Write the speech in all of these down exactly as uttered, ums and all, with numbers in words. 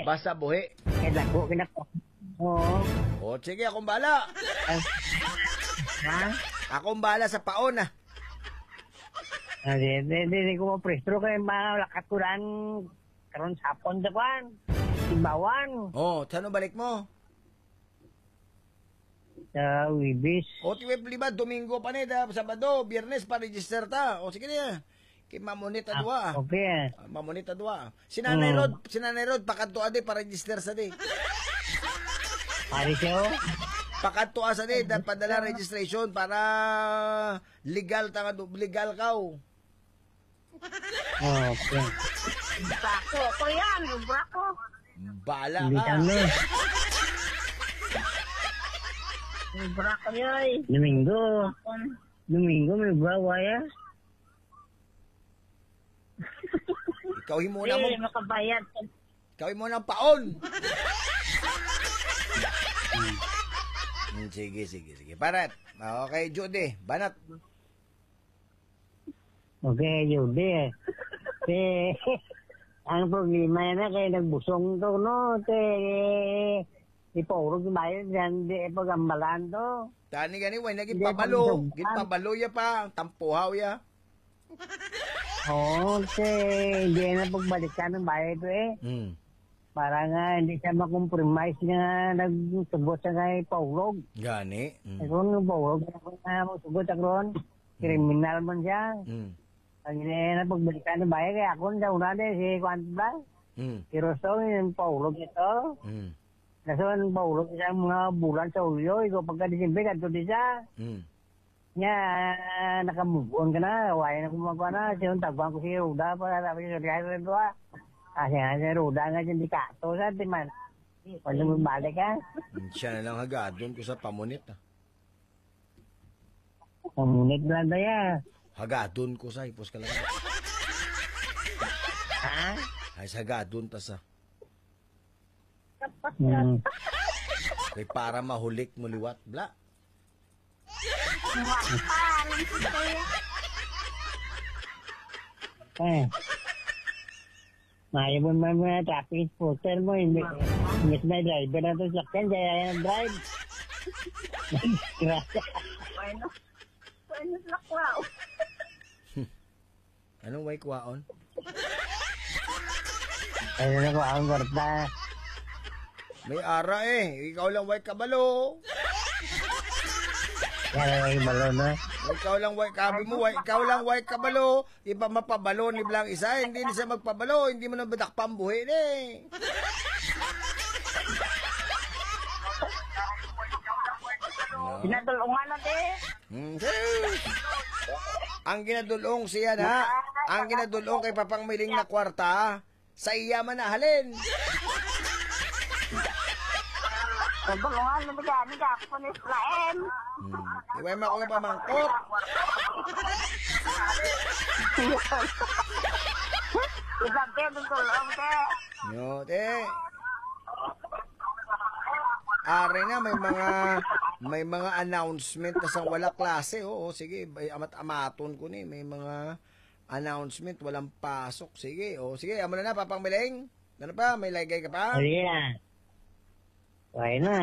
Basta buhi. Kay dako, kay dako. Oo. O, sige, akong bala. Ay. Ha? Akong bala sa paon, ah. Ah, di, di, di, di ko maprestro kay malakat ko daan karon sa hapon sa kwan. Simbawan. Oh, saan balik mo? Sa Wibis. O, ti Web lima, Domingo pa ni, da, Sabado, Biyernes pa register ta. O, sige niya. Kay mamunit ta Ah, duha. okay. Ah, mamunit ta duha. Si Nanay Hmm. Rod, si Nanay Rod, pakadto adi pa register sa di. Pare siya, oh. Pakadto sa di, da, padala registration para legal ta nga du-, legal ka, oh. Oh, okay. Brako ko yan, brako. Bala Hindi ka. Kami. Brako yoy. Domingo. Domingo, may bawa ya. Ikaw himo na mo. Dili makabayad. Ikaw himo ng paon. Hmm, sige, sige, sige. Parat. Okay, Judy, banat. Okay, Judy. Te, ang problema na kay nagbusong to, no? Te, ipaurog yung bayan dyan, di pagambalan to. Tani gani, way na Hindi, ginpabalo. pagdugtan. Ginpabalo ya pa, tampuhaw ya. Oo, te, hindi na pagbalikan ng bayan to eh. Hmm. Para nga hindi siya makompromise nga nagsugot siya kay paurog. Gani. Mm. Kung nung paurog, ako na magsugot ako ron. Mm. Kriminal man siya. Mm. Ang ina na pagbalikan ng bayan, kaya ako na una na si Kwan Blas. Mm. Si Rosto, yung paurog ito. Mm. Kaso ang paurog siya ang mga bulan sa Hulyo, ikaw pagka Disyembre, kadto di siya. Mm. Nya, nakamove on ka na, wala na kumagawa na. Siya yung tagwang ko si Ruda, para sabi siya, "Kaya rin to, ah." Ah, siya, si Ruda nga, hindi ka to, sa di man. Wala mo balik, ah. Siya na lang hagadon ko sa pamunit, ah. Pamunit lang na yan. Hagadon ko sa hipos ka lang. Ha? Ay, sa hagadon ta sa. Mm. Kay para mahulik mo liwat, bla. Eh. Maayo mo man mga traffic enforcer mo, hindi. Imbis may driver na to sakyan, kaya yan ang drive. Grabe. Bueno. Bueno, laklaw. Anong way kuwaon? Ano na ko ang kwarta? May ara eh. Ikaw lang way kabalo. Kaya lang yung balo, no? Ikaw lang way kabi mo, way, ikaw lang way kabalo. Iba mapabalo ni Blang isa, hindi na siya magpabalo, hindi mo na badakpan buhi ni. No? Pinadulungan na, te. Hmm, sis. Ang ginadulong siya na, ang ginadulong kay Papang Miling na kwarta, sa iya man na halin. Nagulungan na gani gapon ni Efraim. Hmm. Iway mo akong pamangkot. Isang kayo ng tulong, te. Yo, te. Ari na, may mga, may mga announcement na sa wala klase. Oo, sige, ay, amat-amaton ko ni. May mga announcement, walang pasok. Sige, o sige, amo na na, Papang Miling. Ano pa? May lagay ka pa? Sige na. Okay na.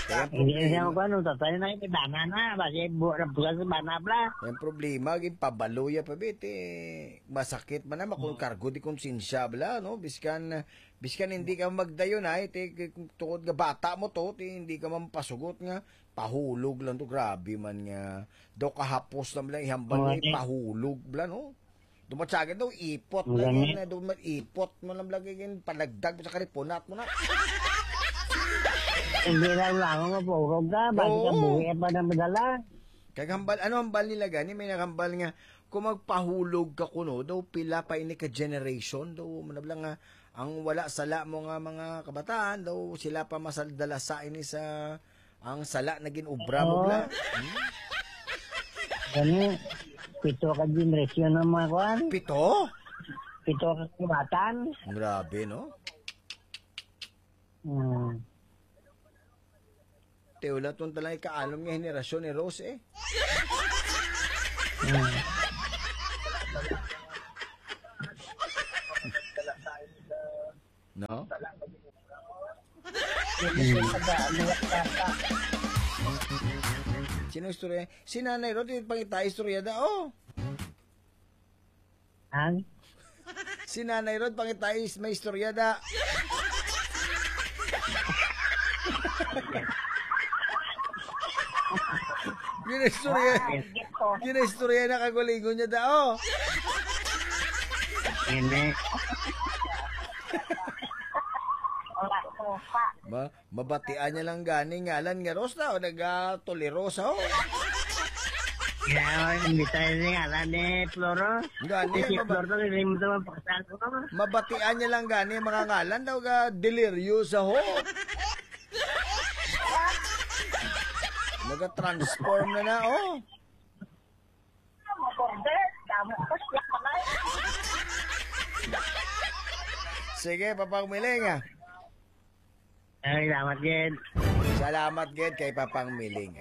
Kaya Hindi na siya problema. Magkuha, no? Tatay na yung bana na. Basi bu-, bukas sa bana, bla. Yung problema, ginpabalo ya pa, bit, eh. Masakit man naman kung Hmm. kargo di konsensya, bla, no? Biskan, biskan hindi ka magdayon, ay, ti, tungod nga bata mo to, ti, hindi ka man pasugot nga, pahulog lang to, grabe man nga. Daw kahapos lang lang ihambal Oo, nga, eh. Pahulog lang, no? Dumatsagin daw, ipot Ang lang gani. Yan, eh. Dumat-, ipot mo lang lagi, yun, palagdag mo sa karipunat mo na. Hindi lang lang, mapurog ka, basi ka Oo. buhi pa na madala. Kag hambal, ano hambal nila gani? May naghambal nga, kung magpahulog ka kuno, daw pila pa ini ka generation, daw manabla nga, ang wala sala mo nga mga kabataan, daw sila pa masadala sa ini sa, ang sala na ginubra mo, Oo. Bla. Hmm? Gani, pito ka generation ng mga kwan. Pito? Pito ka kubatan. Grabe, no? Hmm. Te, wala tong talang ikaanom nga henerasyon ni Rose, eh. Hmm. No? Hindi ko taga ano, bata. Sino istorya? Si Nanay Rod, yung pangita istorya da, oh. Ang? Si Nanay Rod, pangita is may istorya da. Ginaistorya, Ay, gito. Ginaistorya na kagulingon niya da, oh. Hindi. Wala ko pa. Ma, mabatian niya lang gani ngalan nga Rosa o naga Tuli Rosa, oh. Kaya, hindi tayo ni ngalan ni Floro. Gani, Si maba- Floro, hindi mo naman pakasal ko. Mabatian niya lang gani mga ngalan daw ga deliryo sa ho. Naga-transform na na, oh. Makorder, damo ko siya kamay. Sige, Papang Miling, ah. Ay, salamat, Jen. Salamat gid kay Papang Miling.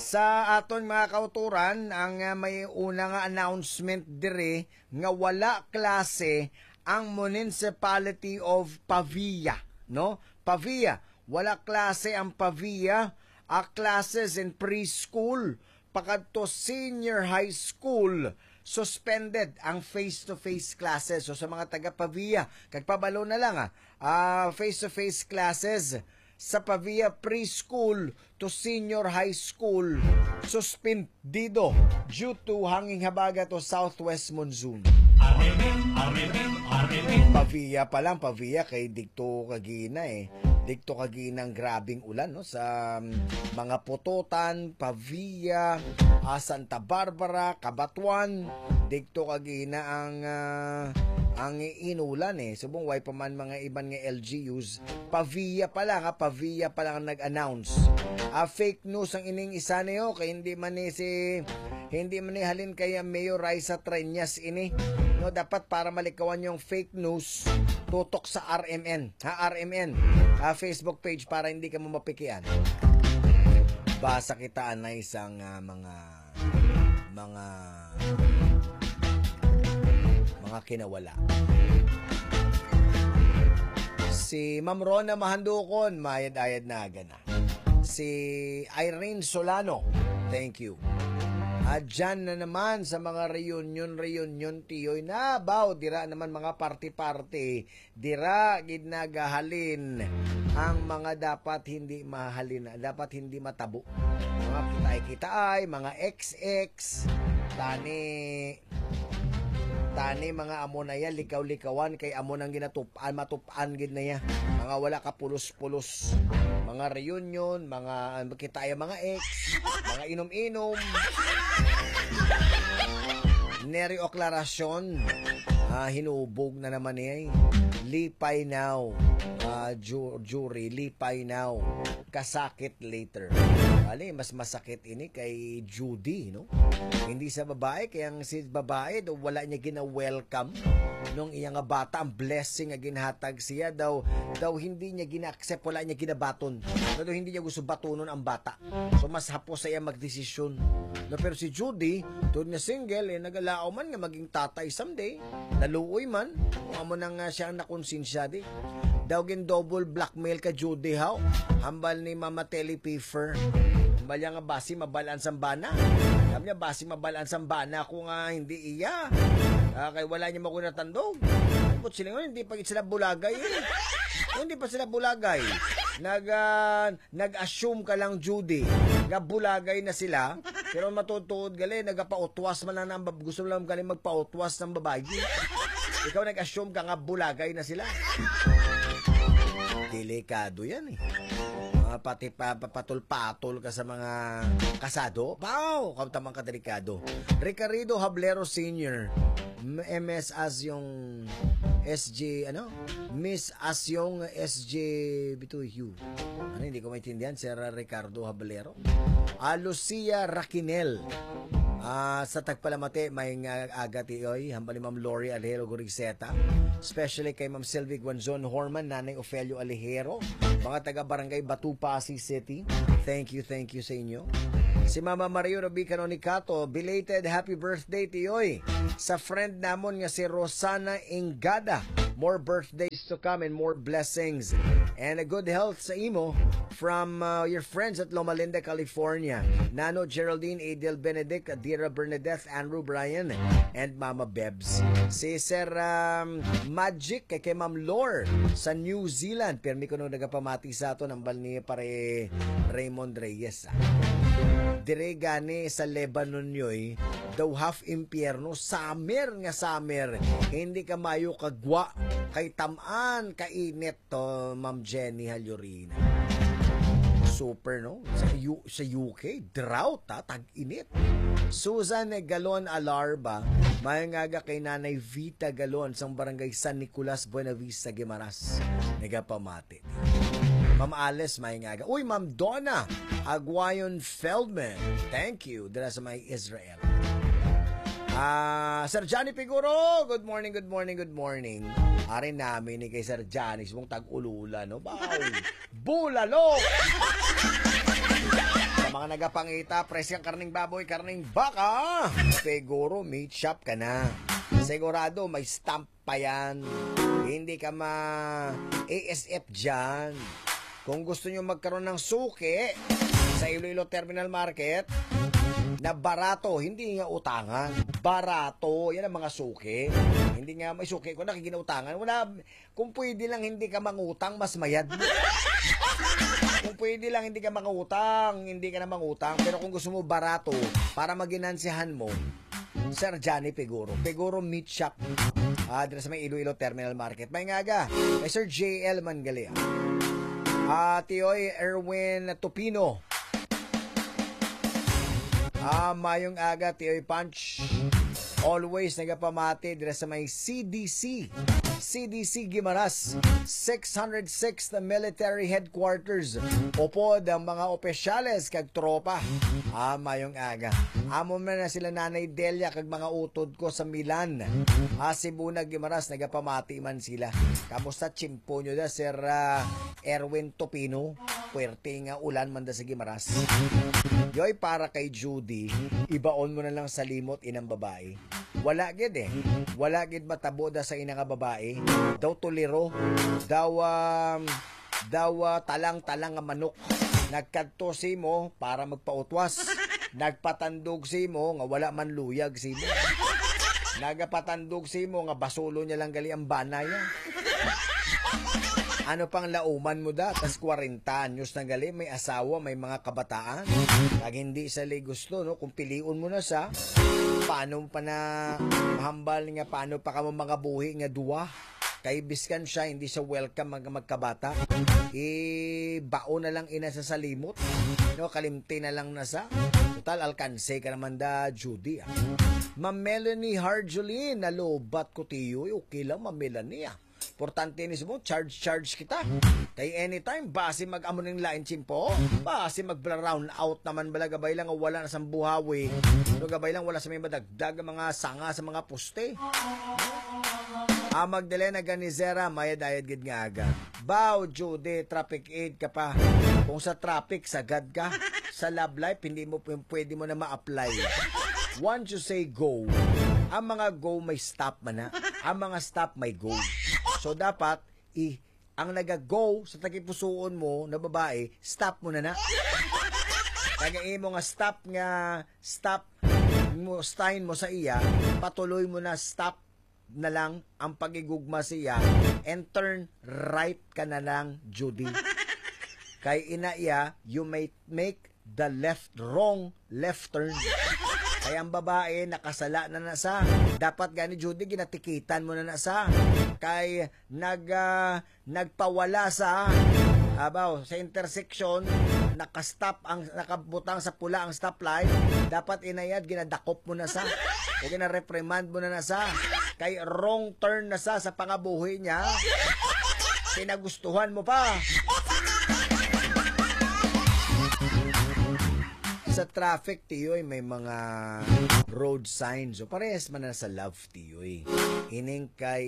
Sa aton mga kauturan, ang ah, may una nga announcement diri nga wala klase ang Municipality of Pavia, no? Pavia, wala klase ang Pavia, a classes in preschool pakadto senior high school, suspended ang face-to-face classes. So sa mga taga Pavia, kagpabalo na lang, ah, ah, face-to-face classes sa Pavia preschool to senior high school suspendido due to hanging habagat o southwest monsoon. Areme, areme, areme. Pavia pa lang, Pavia kay digto kagina eh. Digto kagina ang grabing ulan, no, sa um, mga Pototan, Pavia, ah, Santa Barbara, Cabatuan. Digto kagina ang ah, ang inulan eh. Subong way pa man mga iban nga L G Us. Pavia pa lang, ha, Pavia pa lang ang nag-announce. Ah, fake news ang ining isa niyo kay hindi man ni si hindi man ni halin kay Mayor Raisa Treñas ini. No, dapat para malikawan yung fake news, tutok sa R M N, ha, R M N, ah, Facebook page para hindi ka mo mapikian. Basa kita anay sang ah, mga mga mga kinawala. Si Ma'am Rona Mahandukon, mayad-ayad na aga na. Si Irene Solano, thank you. Adyan na naman sa mga reunion-reunion, tiyoy, nabaw, dira naman mga party-party, dira gid nagahalin ang mga dapat hindi mahalin, dapat hindi matabo. Mga kitay-kitay, mga X X, tani, tani mga amo na yan, likaw-likawan, kay amo nang ginatup-an, matup-an gid na yan. Mga wala ka pulos-pulos, mga reunion, mga, kita yung mga ex, mga inom-inom. Neri Oklarasyon, ah, hinubog na naman niya eh. Lipay now, ah, ju- jury, lipay now. Kasakit later. Ali, mas masakit ini kay Judy, no? Hindi sa babae, kaya ang si babae, daw wala niya gina-welcome nung iya nga bata, ang blessing nga ginhatag siya, daw, daw hindi niya gina-accept, wala niya ginabaton. Daw hindi niya gusto batunon ang bata. So, mas hapos sa iya magdesisyon. No, pero si Judy, tod nga single, eh, nagalaom man nga maging tatay someday. Naluoy man, kung amo na nga siya ang nakonsensya di. Daw gin double blackmail ka Judy, haw? Hambal ni Mama Telly Piffer. Hambal niya nga basi mabalaan sang bana. Sabi niya, basi mabalaan sang bana ko nga hindi iya. Ah, kay wala niya makuha natandog. But sila nga, hindi pa gid sila bulagay eh. Hindi pa sila bulagay. Nag, ah, nag-assume ka lang, Judy, nga bulagay na sila, pero matutuod gali, nagapautwas man lang ang bab-, gusto lang gali magpautwas ng babae. Ikaw nag-assume ka nga bulagay na sila. Delikado yan eh. Mga pati pa, papatol-patol ka sa mga kasado. Wow! Kamtamang ka delikado. Ricardo Hablero Senior, M S as yung S J, ano? Miss Asyong S J Bituyo. Ano, hindi ko maintindihan, Sir Ricardo Hablero. Ah, Lucia Raquinel. Ah, sa tagpalamati, may nga aga tiyoy, hambal ni Ma'am Lori Alejero Gurigzeta. Especially kay Ma'am Sylvie Guanzon Horman, Nanay Ofelio Alejero. Mga taga Barangay Batupa, Pasig City. Thank you, thank you sa inyo. Si Mama Mario Ruby Canonicato, belated happy birthday, tiyoy. Sa friend namon nga si Rosana Ingada. More birthdays to come and more blessings. And a good health sa imo from, uh, your friends at Loma Linda, California. Nano Geraldine, Adel Benedict, Adira Bernadette, Andrew Brian, and Mama Bebs. Si Sir, um, Magic, kay, kay Ma'am Lore sa New Zealand. Pirmi kuno nagapamati sa aton, ambal ni Pare Raymond Reyes, ah. Dire gani sa Lebanon, yoy, daw half impyerno, summer nga summer. Hindi ka mayo kagwa, kay tam-an ka init to, Ma'am Jenny Halyorina. Super, no? Sa U-, sa U K, drought, ha? Tag-init. Susan Galon Alarba, maayong aga kay Nanay Vita Galon sang Barangay San Nicolas, Buenavista, Guimaras. Nagapamati. Ma'am Alice, maayong aga. Uy, Ma'am Donna Aguayon Feldman. Thank you. Dira sa may Israel. Ah, Sir Johnny Piguro, good morning, good morning, good morning. Ari namin ni kay Sir Johnny, subong tag-ulula, no? Baw, bulalo! Sa mga nagapangita, preskang karning baboy, karning baka, Piguro, meat shop ka na. Sigurado, may stamp pa yan. Hindi ka ma-A S F dyan. Kung gusto nyo magkaroon ng suki sa Iloilo Terminal Market, na barato, hindi nga utangan. Barato, yan ang mga suki. Hindi nga may suki ko na ginutang. Wala, kung pwede lang hindi ka mangutang, mas mayad. Kung pwede lang hindi ka mangutang, hindi ka na mangutang. Pero kung gusto mo barato, para maginansihan mo, Sir Johnny Piguro. Piguro Meat Shop. Ah, dira sa may Iloilo Terminal Market. Maayong aga. Kay Sir J L Mangalia. Ah, Tioy Erwin Tupino. Ah, maayong aga, Tioy Punch. Always nagapamati dira sa may C D C. C D C Guimaras, six hundred sixth Military Headquarters. Upod ang mga opisyales kag tropa. Ah, maayong aga. Amo man na sila Nanay Delia kag mga utod ko sa Milan. Ah, Cebu na Guimaras, nagapamati man sila. Kamusta tiyempo nyo da, Sir, ah, Erwin Topino? Puwerte nga ulan man da sa Guimaras. Yoy, para kay Judy, ibaon mo na lang sa limot inang babae. Wala gid eh. Wala gid matabo da sa ina nga babae. Daw tuliro. Daw, um, daw, uh, talang-talang nga manok. Nagkadto simo para magpautwas. Nagpatandog simo nga wala man luyag simo. Nagapatandog simo nga basulo niya lang gali ang bana niya. Ano pang lauman mo da? Tas kwarenta anyos na gali, may asawa, may mga kabataan. Kag hindi sa li gusto, no? Kung pilion mo na sa, paano pa na mahambal nga, paano pa ka mo mga buhi nga duwa? Kay biskan siya, hindi siya welcome mag-, magkabata. Ibao na lang ina sa salimot. No, kalimti na lang na sa. Total, alkanse ka naman da, Judy, ah. Ma'am Melanie Harjulin, nalubat ko tiyo. Okay lang, Ma'am Melanie, ah. Importante ni mo, charge, charge kita. Kay anytime, basi mag-amo ning lain tiyempo. Basi mag-round out naman bala, gabay lang wala na sa buhawi. No, gabay lang wala sa may madagdag ang mga sanga sa mga poste. Ah, Magdalena Ganizera, mayad-ayad gid nga aga. Baw, Judy, traffic aid ka pa. Kung sa traffic, sagad ka. Sa love life, hindi mo p-, pwede mo na ma-apply. Once you say go, ang mga go may stop man na. Ang mga stop may go. So, dapat, i-, ang naga-go sa tagipusuon mo na babae, stop mo na na. Kaya imo nga stop nga, stop mo, sign mo sa iya, patuloy mo na, stop na lang ang pagigugma siya and turn right ka na lang, Judy. Kay ina iya, you may make the left, wrong left turn. Kay ang babae, nakasala na na sa. Dapat gani, Judy, ginatikitan mo na na sa. Kay nag, ah, nagpawala sa, abaw, sa intersection, nakastop ang, nakabutang sa pula ang stoplight, dapat inayad, ginadakop mo na sa, o gina-reprimand mo na na sa, kay wrong turn na sa, sa pangabuhi niya, pinagustuhan mo pa. Sa traffic, tiyoy, may mga road signs. So, parehas man na sa love, tiyoy. Ining kay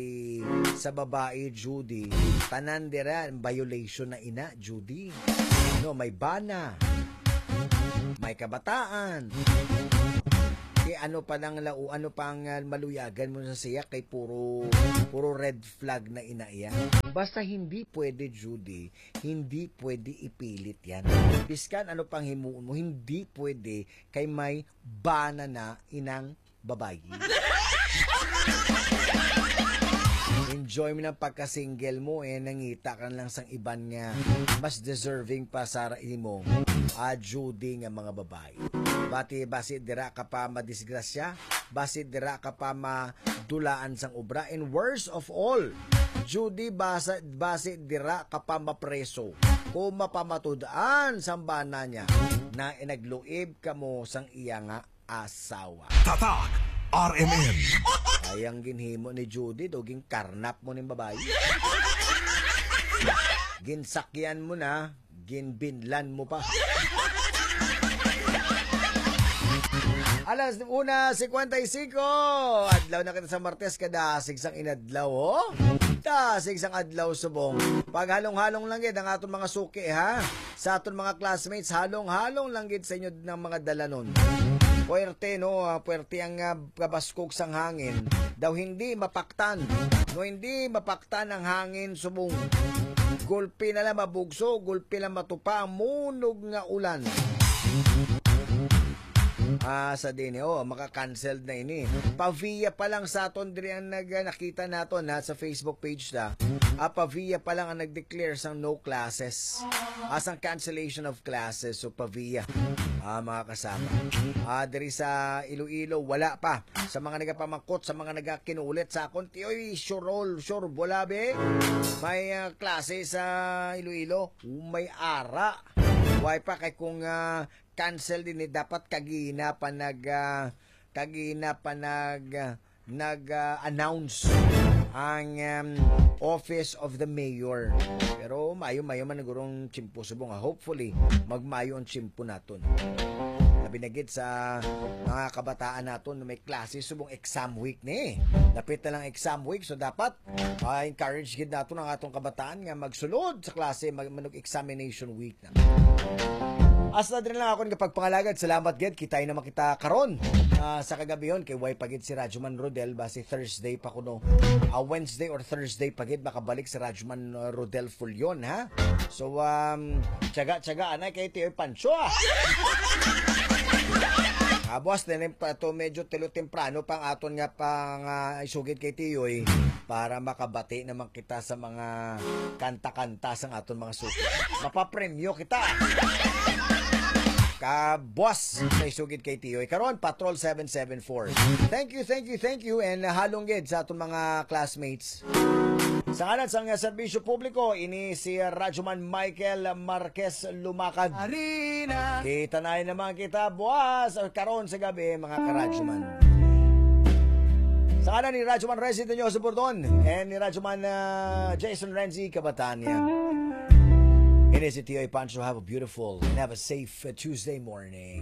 sa babae, Judy, tanan dira, violation na ina, Judy. No, may bana, may kabataan. Eh, ano pa nang lau-, ano pang, ah, maluyagan mo sa siya kay puro, puro red flag na ina iya. Basta hindi pwede, Judy, hindi pwede ipilit yan. Biskan ano pang himuon mo, hindi pwede kay may bana na inang babayi. Enjoy mo ng pagka-single mo, eh, nangita ka na lang sang iban nga mas deserving pa sa imo, ah, Judy, nga mga babayi. Bati, basi dira ka pa madisgrasya, basi dira ka pa madulaan sang obra, and worst of all, Judy, basa-, basi dira ka pa mapreso kung mapamatud-an sang bana niya na inagluib ka mo sang iya nga asawa. Tatak R M N. Ay, ang ginhimo ni Judy, daw ginkarnap mo ning babayi. Ginsakyan mo na, ginbinlan mo pa. Alas una cincuenta y cinco. Adlaw na kita sa Martes, kadasig sang inadlaw, oh. Dasig sang adlaw subong. Paghalong-halong lang gid ang aton mga suki, ha? Sa aton mga classmates, halong-halong lang gid sa inyo ng mga dalanon. Puwerte, no? Ah, puwerte ang, ah, kabaskog sang hangin. Daw hindi mapaktan. No, hindi mapaktan ang hangin subong. Gulpi na lang mabugso, gulpi lang matupa ang munog nga ulan. Ah, sa din, oh, maka-cancelled na ini. Pavia pa lang sa aton diri ang nag-, nakita naton, ha, sa Facebook page ta. Ah, Pavia pa lang ang nag-declare sang no classes. Ah, sang cancellation of classes, so Pavia. Ah, mga kasama. Ah, diri sa Iloilo, wala pa. Sa mga nagapamangkot, sa mga nagakinulit sa akon, tiyoy, sure all, sure, wala, be. May, ah, klase sa Iloilo, may ara. Why pa kay kung, ah, cancel din, eh, dapat kagina pa nag, ah, kagina pa nag, ah, nag, ah, announce ang, um, Office of the Mayor. Pero mayo-mayo man nagurong tiyempo subong, ah. Hopefully, magmayo ang tiyempo naton. Labi na gid sa mga kabataan naton na may klase subong exam week ni. Dapit na lang exam week, so dapat, ah, encourage gid naton ang atong kabataan nga magsulod sa klase, mag-, manug examination week. Hasta diri lang akon nga pagpangalagad. Salamat gid. Kitay naman kita karon, ah, sa kagabihon kay way pa gid si Radyo Man Rodel, basi Thursday pa kuno. Ah, Wednesday or Thursday pa gid makabalik si Radyo Man, ah, Rodel Fullon, ha? So, um, tiyaga-tiyaga anay kay Tiyoy Pancho, ah. Ah, buwas din pa to, medyo tilo temprano pang aton nga pang, ah, isugid kay Tiyoy para makabati naman kita sa mga kanta-kanta sang aton mga suki. Mapapremyo kita. Kabwas sa isugid kay Tiyoy. Karon, Patrol seven seven four. Thank you, thank you, thank you, and, uh, halong gid sa aton mga classmates. Sa ngalan sang, uh, serbisyo publiko, ini si Radyoman Michael Marquez Lumakad. Harina. Kita na naman kita buwas, uh, karon sa gabi, mga karadyoman. Sa ngalan ni Radyoman Renzi Doñoso Bordon and ni Radyoman, uh, Jason Renzi, kabataan niya. Ini si Tiyoy Pancho. Have a beautiful and have a safe, uh, Tuesday morning.